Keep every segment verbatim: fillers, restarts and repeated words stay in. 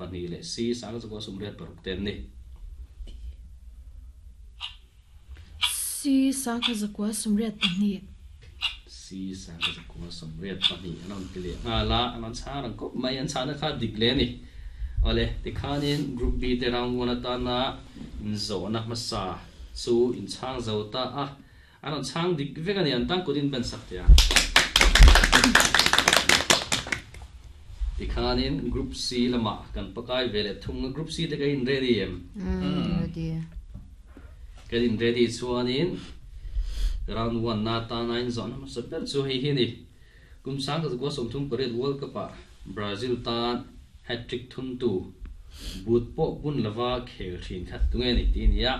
pahnih leh C sangkhat zakua sawmriat paruk ten ni. C sangkhat zakua sawmriat pahnih. C sangkhat zakua sawmriat pahnih an rawn ti leh nghal a, an rawn chhang rang khawp mai, an chhahna kha dik hle a ni. Awle, tikhanin Group B te round one atana inzawhna hmasa chu inchhang zo ta a, an rawn chhang dik vek a ni, an tan kutin ban sak teh ang. Tikhanin Group C lamah kan pakai ve leh thung a, Group C te ka in ready em? Ready. Kan in ready chuanin round one na atana inzawhna hmasa ber chu hei hi a ni. Kum sangkhat zakua sawmthum pariat World Cup ah Brazil tan hat-trick thuntu but pawh bun lova khel thin kha tunge ni tih a ni a.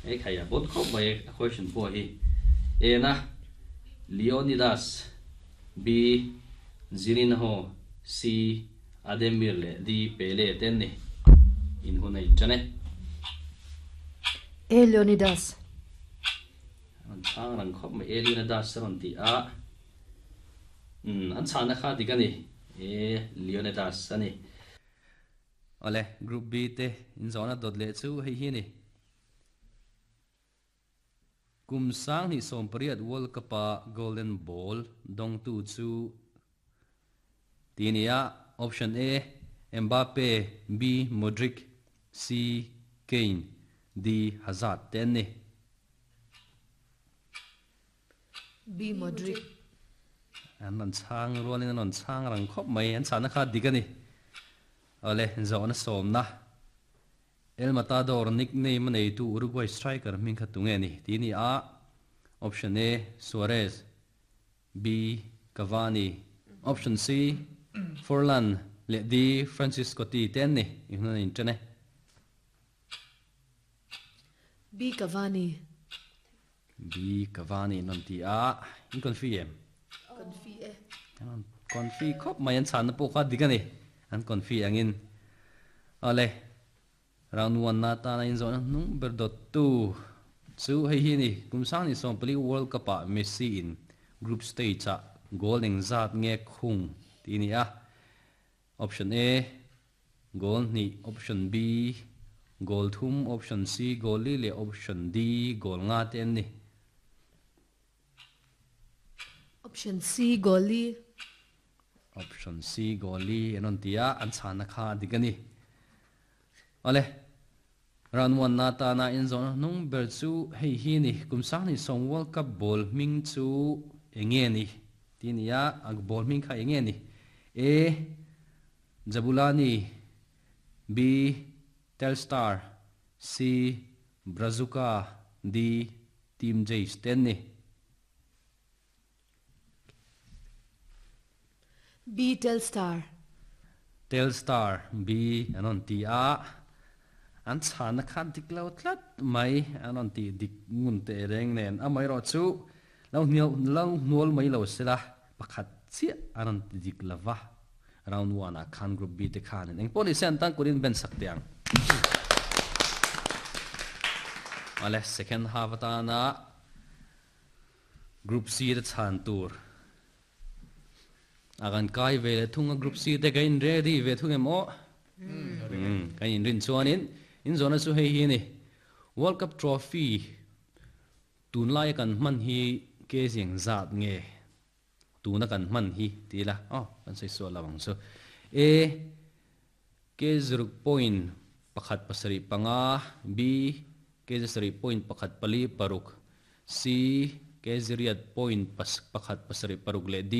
Hei khai a bon khawp mai a question pawh hi. A na Leonidas, B Zirinho, C Ademir leh D Pele te an ni. In hun a inṭan e. A Leonidas. An chhang rang khawp mai A Leonidas a rawn ti a. Umm an chhahna kha dik a ni. A Leonidas a ni. Awle, Group B te inzawhna dawt leh chu hei hi a ni. Kum sanghnih sawm pariat World Cup-a Golden Ball dawngtu chu ti a ni a, Option A, Mbappe, B, Modric, C, Kane, D, Hazard te an ni. B, Modric. An rawn chhang rualin an rawn chhang rang khawp mai, an chhahna kha dik a ni. Awle, zawhna sawmna. El Matador nickname a neitu Uruguay striker hming kha tunge ni tih a ni a, Option A, Suarez, B, Cavani, Option C, Forlan leh D, Francisco T te an ni. I hun a inṭan e. B, Cavani. B, Cavani an rawn ti a, in confi em? Confi e. An rawn confi khawp mai, an chhanna pawh kha dik a ni, an confi angin. Awle, round one na atana inzawhna hnung ber dawttu chu hei hi a ni, kum sanghnih sawm pali World Cup ah Messi in group stage ah goal engzat nge khung tih a ni a, Option A, goal hnih, Option B, goal thum, Option C, goal li leh Option D, goal nga te an ni. Option C, goal li. Option C, goal li an rawn ti a, an chhahna kha a dik a ni. Awle, round one na atana inzawhna hnung ber chu hei hi a ni, kum sanghnih sawm World Cup ball hming chu eng nge ni tih a ni a, a ball hming kha eng nge ni? A, Jabulani, B, Telstar, C, Brazuca, D, Team Jays te an ni. B, Telstar. Telstar, B an rawn ti a, an chhahna kha dik lo tlat mai, an rawn tih dik ngun teh reng nen, amaherawh chu lo hnial lo hnual mai lo sela, pakhat chiah an rawn ti dik lo va, round one ah khan group B te khanin engpawh ni se an tan kurin ben sak teh ang. Awle, second half atana Group C te chhan tur a kan kai ve leh thung a, Group C te kan in ready ve thung em aw? Kan in rin chuanin inzawhna chu hei hi a ni, World Cup Trophy tunlaia kan hman hi ke ziang zat nge tuna kan hman hi ti ila aw kan sawi sual lo ang chu. A, ke ziruk point pakhat pasarih panga, B, ke zasarih point pakhat pali paruk, C, ke ziriat point pakhat pasarih paruk leh D,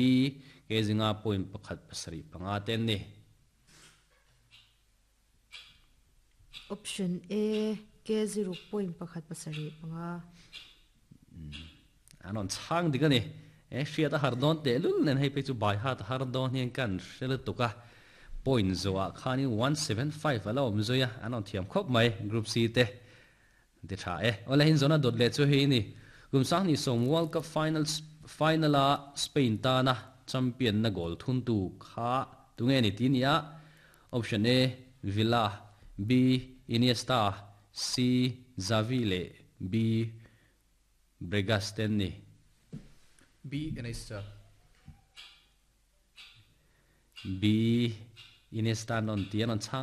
ke zinga point pakhat pasarih panga te an ni. Option A, ke ziruk point pakhat pasarih panga. An rawn chhang dik a ni. E hriat a har dawn tehlul nen hei phei chu by heart a har dawn hian kan hre lutuk a. Point zawhah khanin one seven five a la awm zui a, an rawn thiam khawp mai Group C te. Ti tha e. Awle hinzawna dawt leh chu hei a ni. Kum sanghnih sawm World Cup final final-a Spain tana champion na goal thuntu kha tunge ni tih a ni a, Option A, Villa, B, Iniesta, C, Xavi leh B, Bregas te an ni. B, Iniesta. B, Iniesta an rawn ti a, an rawn chhang